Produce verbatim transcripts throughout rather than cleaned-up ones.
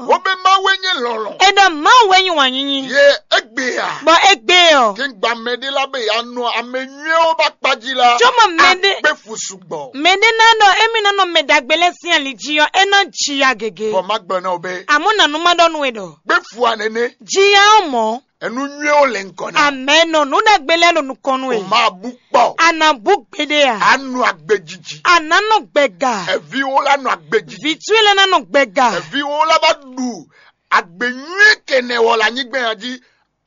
Wó be Mawu e nyí lɔlɔ̃. È ɖɔ Mawu wɛ nyí wǎn nyinyi. Ye egbe a? Bɔ égbé ɔ. Kí n gba mɛ ɖé lá be ya nɔ ame nyuiwo ba kpa jí la. Cóbɔ mɛ ɖé Agbe fu sugbɔ. Mɛ ɖé ná ɖɔ émí ná nɔ mɛ ɖagbe lɛ́ɛ sín ali jí ɔ́, é ná ji ya gěgé. Bɔ má gblɔ ná o be. Àmọ́ nànú má ɖɔ nú we ɖɔ. Gbe fu a nɛnɛ. Ji ya ɔ́ mɔ̌. Enu nyuiwo le ŋkɔ na. Amɛnɔ nú ɖagbe lɛ́ɛ ɖo nukɔn nú we. O ma bu kpɔ. A nǎ bú gbeɖé a? A nɔ agbe jiji. A nǎ nɔ gbɛga. Eviwo la nɔ agbe jiji. Vǐ towe lɛ́ɛ ná nɔ gbɛga. Eviwo la ba ɖu agbe nyui kɛnɛ wɔ le anyigba ya jí.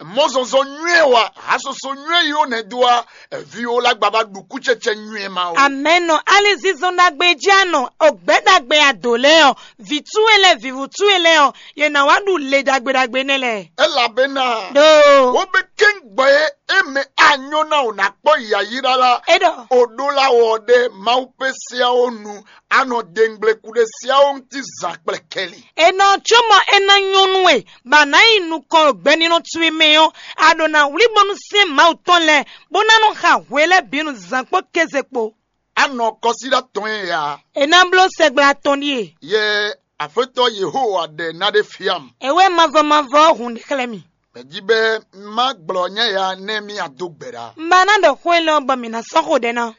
Mɔzɔnzɔn nyui wa, hasoso nyui yi wo nɛ do wa. Eviwo la gba ba ɖu kutsɛtsɛ nyui ma o. Amɛnɔ alizinzɔn ɖagbe jí a nɔ, ogbɛ ɖagbe ado lɛ́ɛ ɔ, vǐ towe lɛ́ɛ, vǐvú towe lɛ́ɛ ɔ, yě ná wá ɖu le ɖagbe ɖagbe nɛ́ lɛ́ɛ. Elabena Ɖo. Wo be kɛ́n gbɔ e e mɛ a nyɔ na o na kpɔ yayira la. E ɖɔ. O ɖó la wɔ ɖe Mawu pe siawo nu, a nɔ dengble kuɖe siawo ŋuti zan kplɛ kɛli. E nɔ cóbɔ é ná nyɔ́ nú we, bɔ a nǎ yi nukɔn ɖo gbɛnínɔ towe mɛ ɔ́, a ɖo ná wlí bónú sɛ́n Mawu tɔn lɛ́ɛ, bó ná nɔ xa hwe lɛ́ɛ bǐ nu zǎn kpó kéze kpó. A nɔ kɔsíɖá tɔn e ya. E ná bló sɛgbla tɔn ɖíe. Yɛ Aƒetɔ Yehowa ɖe ná ɖe fiam. Ewé mavɔ mavɔ ɔ́ hun ɖe xlɛ́ mì. Mɛ jí bɛ má gblɔ nyɛ ya nɛ mì ado gbɛ ɖa. Un ba ná ɖɔ xó élɔ́ bɔ mǐ ná sɔ́ xo ɖɛ ná.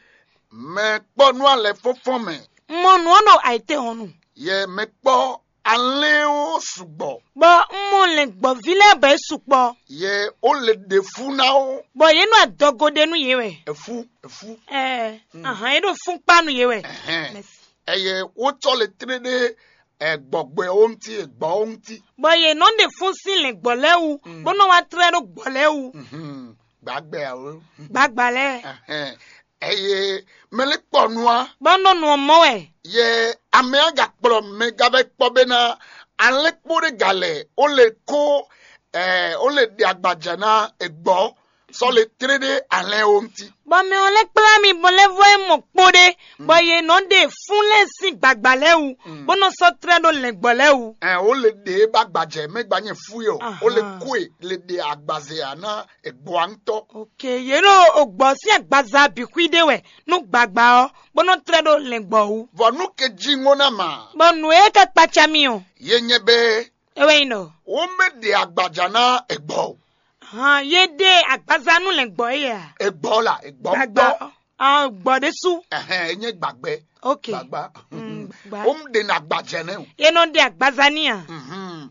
Mɛ kpɔ nú alɛ fɔ́nfɔ́n mɛ. Un mɔ nǔ ɔ́ ɖo ayǐtéhɔ̌nnu. Yɛ mɛ kpɔ alɛ́n ó sugbɔ. Bɔ un mɔ lɛ̌ngbɔ́ví lɛ́ɛ bɔ é sukpɔ. Yɛ ó le ɖe fú ná ó. Bɔ yě nɔ adɔgo ɖe nú yě wɛ. Efu, efu. Ɛɛ, ahan, é ɖo fún kpá nú yě wɛ. Ɛhɛn. Mɛsi. Ɛyɛ wó tsɔ le tlé ɖé, ɛ, gbɔgbɛ ó ŋuti, ɛ, gbɔ ó ŋuti. Bɔ yě nɔ ɖe fún sín lɛ̌ngbɔ́ lɛ́ɛ wú, bó nɔ wá tlɛ́ ɖó gbɔ̌ lɛ́ɛ wú. Mhm. Gbàgbɛ alo. Gbagba lɛ́ɛ. Ɛhɛn. Ɛyɛ mɛ lɛ kpɔ nua. Bɔ nɔ nɔ mɔ wɛ. Yɛ amɛ aga kplɔ mɛ gavɛ kpɔ bena alɛ kpo ɖe galɛ o le ko, ɛ, o le ɖe agbaja na egbɔ sɔ le tre ɖe alɛ o ŋuti. Bɔ mɛ ɔ́ lɛ́ kplá mi bɔ lɛ́ vɔ é mɔ kpo ɖé, bɔ yě nɔ ɖe fún lɛ́ɛ sín gbagba lɛ́ɛ wú, bó nɔ sɔ́ trɛ́ ɖó lɛ̌ngbɔ́ lɛ́ɛ wú. Ɛ, o le ɖe ba gbajɛ mɛ gba nyɛ fu yɔ. O le Ahan. Koe le ɖe agbaze a na egbɔa ŋutɔ. Ok, yě ɖo ogbɔ sín agbaza bǐ xwí ɖé wɛ nú gbagba ɔ́, bó nɔ tlɛ ɖó lɛ̌ngbɔ́ wú. Vɔ nú ke jí ŋó ná ma. Bɔ nǔ e ka kpaca mi ɔ́, Ye nyɛ bɛ é wɛ nyí ɖɔ. Wo mɛ ɖe agbaja ná egbɔ o. Hàn, yě ɖe agbaza nú lɛ̌ngbɔ́ é a? Egbɔ la, egbɔ Gbagba gbɔ. Ɔ́, ɔ́, gbɔ ɖésú. Ɛhɛn, e nyɛ gbagbɛ. Ok. Gbagba. Mm, gba. Wo mɛ ɖe na agbaja nɛ o. Yě nɔ ɖe agbaza ní a? Mhm.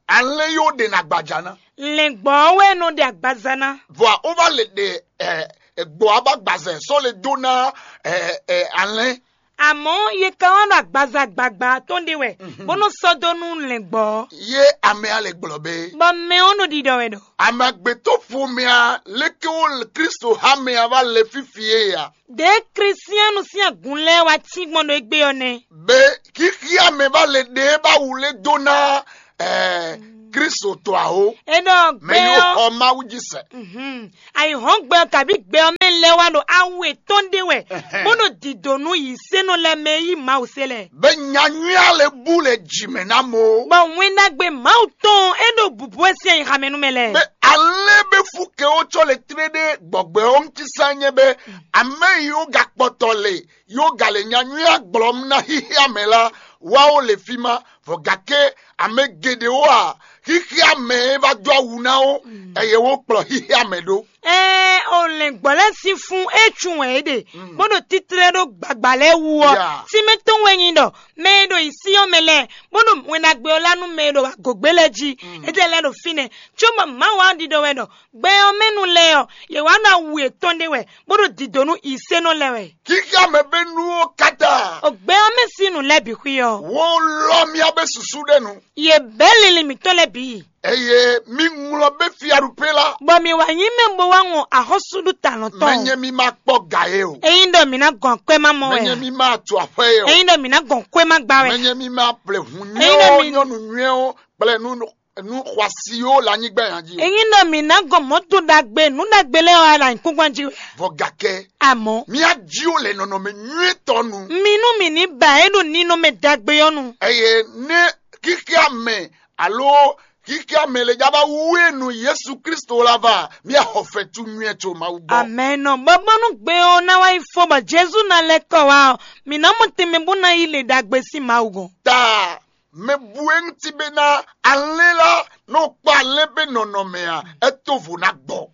Alɛ yóò ɖe na agbaja ná. Lɛ̌ngbɔ́ ɔ́ wɛ nɔ ɖe agbaza ná. Vɔ a ó va le ɖe ɛ egbɔ a ba gbazɛ sɔ le dó ná ɛ ɛ alɛ. Àmọ́ yě ka wá ɖo agbaza gbagba tɔn ɖé wɛ, bó nɔ sɔ́ dó nú lɛ̌ngbɔ́ ɔ́. Ye ame a le gblɔ be. Bɔ mɛ ɔ́ nɔ ɖiɖɔ wɛ ɖɔ. Ame agbetɔ ƒomea leke wo Kristo ha mɛ a va le fifi ye ya. Ɖě Klísiánu sín agun lɛ́ɛ wá cí gbɔn ɖo égbé ɔ́ nɛ́. Be xixia mɛ va le ɖe ba wule dó ná ɛ Kristo tɔ awo. É ɖɔ Mɛ gbɛ yóò ɔ́. Xɔ Mawu jí sɛ. Mhm. Ayǐhɔ́ngbe ɔ́ kabí gbɛ ɔ́ mɛ lɛ́ɛ wá ɖo awu yětɔn ɖé wɛ, Ɛhɛn. Bó ɖo dǐdó nú yǐsénɔ lɛ́ɛ mɛ e yí Mawu se lɛ́ɛ. Be nya nyui a le bu le jǐ mɛ ná mo. Bɔ wɛn ɖagbe Mawu tɔn e ɖo bǔbú wɛ sín ayixa mɛ nú mɛ lɛ́ɛ. Be alɛ be fu ke wo tsɔ le tlé ɖe gbɔgbɛ ɔ́ ŋuti sá nyɛ be amɛ yi wo gakpɔtɔ le yo gale nya nyui a gblɔm na xixia mɛ la wa wo le fi ma, vɔ gake ame geɖewo a xixia mɛ e va dó awu ná wo, eye wo kplɔ xixia mɛ ɖó. Ɛɛ, o lɛ̌ngbɔ́ lɛ́ɛ sín fún é cun wɛ é ɖe, bó ɖo títlɛ́ ɖó gbagba lɛ́ɛ wú ɔ́, Ya. Tínmɛ tɔn wɛ nyi ɖɔ mɛ e ɖo yǐ sí ɔ́ mɛ lɛ́ɛ, bó ɖo wɛn ɖagbe ɔ́ lá nú mɛ e ɖo agǒgbé lɛ́ɛ jí, étɛ́ lɛ́ɛ ɖo fínɛ́, cóbɔ Mawu wá ɖiɖɔ wɛ ɖɔ gbɛ ɔ́ mɛ nu lɛ́ɛ ɔ́, yě wá ɖo awu yětɔn ɖé wɛ, bó ɖo dǐdó nú yǐsénɔ lɛ́ɛ wɛ. Kíká mɛ bɛ́ nú ó káta. O gbɛ ɔ́ mɛ sín nǔ lɛ́ɛ bǐ xwí ɔ́. Wo lɔ mía bɛ́ susu ɖe nu. Yě bɛ́ linlin mǐtɔn lɛ́ɛ bǐ. Eye mi ŋlɔ bɛ́ fiaɖupe la. Bɔ mǐ wá nyí mɛ bó wá ŋɔ axɔ́súɖutalɔn tɔn. Mɛnyɛ mi ma kpɔ ga ye o. Ényí ɖɔ mǐ ná gɔn akwɛ́ má mɔ wɛ. Mɛnyɛ mi ma tu aƒe ye o. Ényí ɖɔ mǐ ná gɔn kwɛ́ má gbá wɛ. Mɛnyɛ mi ma ple hun Ényí ɖɔ nyuiwo mi nyɔnu nyuiwo kple nu nu xɔasiwo le anyigba ya jí o. Ényí ɖɔ mǐ ná gɔn mɔ̌ to ɖagbe nǔ ɖagbe lɛ́ɛ wá ɖo anyǐkúngban jí wɛ. Vɔ gakɛ. Amɔ̌. Mía jí o le nɔnɔmɛ nyuitɔ nu. Mi nú mǐ ní ba é ɖo ninɔmɛ ɖagbe ɔ́ nu. Eye ne kíkíá mɛ alo kíkíá mɛ le já bá wú e nu Yesu Kristo la va, mía xɔ fɛtu nyuitɔ Mawu gbɔ. Amɛnɔ. Bɔbɔnu gbe ɔ́ ná wá yi fó bɔ Jezu ná lɛ́ kɔ wá ɔ́, mǐ ná mɔ tɛnmɛ bó ná yi le ɖagbe sín Mawu gɔ́n. Ta Mɛ bu e ŋuti be ná alɛ́n lá nɔ kpɔ alɛ́n be nɔnɔmɛ a, é to vo ná gbɔ.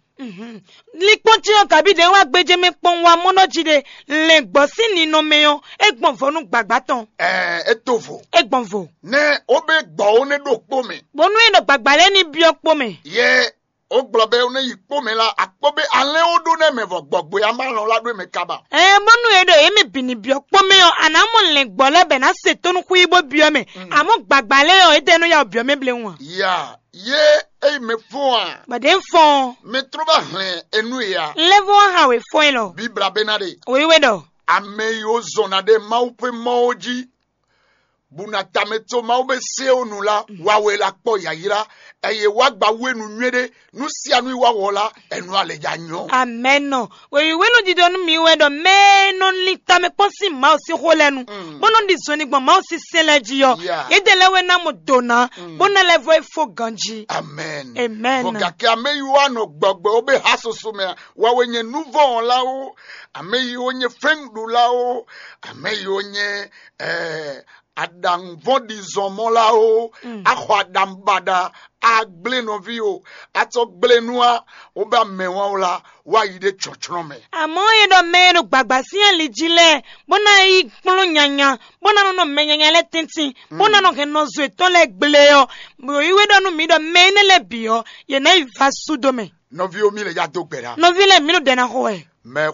Likpɔn ce ɔ́ kabi ɖe wá gbéjé mɛ kpɔn wá mɔnɔ jí ɖe. Lɛn gbɔ sín ninɔ mɛ ɔ́, é gbɔn vɔ nú gbagba tɔn. Ɛɛ, é to vo. É gbɔn vo. Nɛ ó be gbɔ ó nɛ ɖo kpó mɛ. Bónú é nɔ gbagba lɛ́ɛ ní byɔ́ kpó mɛ. Yɛ ó gblɔ bɛ ó nɛ yi kpó mɛ la, akpó be alɛ́n ó ɖó nɛ mɛ vɔ gbɔgbɔ ya má lɔn lá ɖó mɛ kaba. Ɛɛ bónú é ɖo yě mɛ bǐ ní byɔ́ kpó mɛ ɔ́, a nǎ mɔ lɛn gbɔ lɛ́ɛ bɛ ná se tónú xwí bó byɔ́ mɛ. Amɔ́ gbagba lɛ́ɛ ɔ́, é tɛ nɔ ya byɔ́ mɛ bléwún a? Ya yé eyi mɛ fɔn a? Bɔ̌ ɖě ń fɔn. Mɛ tró bá hlɛn enu ya. Lɛ́vɔ́ há wě fɔ́n ɛ lɔ. Bíbla bɛ ná ɖe. Wěwé ɖɔ. Ame yi ó zɔn na ɖe Mawu ƒe mɔ ó jí, bú na tamɛ tso Mawu be se ó nu la, wa wɛ la kpɔ yayra, eye wa gba wenu nyuie ɖe, nu sia nu yi wa wɔ la, enu ale ja nyɔ. Amɛnɔ. Wěwé nɔ ɖiɖɔ nú mi wɛ ɖɔ mɛ e nɔ lin tamɛ kpɔ́n sín Mawu sín xó lɛ́ɛ nu, bó nɔ ɖi zɔnni gbɔn Mawu sín sɛn lɛ́ɛ jí ɔ́, Yeah. Yědɛɛ lɛ́ɛ wɛ ná mɔ do ná, bó ná lɛ́ vɔ é fó ganjí. Amen. Amen. Vɔ gake ame yi wa nɔ gbɔgbɔ wo be ha soso mɛ, wa wɛ nyɛ nuvɔn la wo, ame yi wo nyɛ fɛnɖu la wo, ame yi wo nyɛ eh, aɖaŋuvɔn ɖi zɔn mɔ la wo, axɔ aɖaŋu baɖa, agblé nɔvi o, atsɔ gblé nua, wo ba mɛ wan o la, wa yi ɖe tsɔtsrɔn mɛ. Àmọ́ e ɖɔ mɛ e ɖo gbàgbà sín ali jí lɛ́ɛ, bó ná yi kplɔ́n nyanya, bó ná nɔ nɔ mɛ nyanya lɛ́ɛ tɛ́ntin, bó ná nɔ hɛn nɔzo yětɔn lɛ́ɛ gble ɔ́, yǒyíwé ɖɔ nú mǐ ɖɔ mɛ énɛ́ lɛ́ɛ bǐ ɔ́, yě ná yi va sú dó mɛ. Nɔví o, mi le ya dó gbe ɖa. Nɔví lɛ́ɛ, mǐ ɖo ɖɛ ná xo wɛ. Mɛ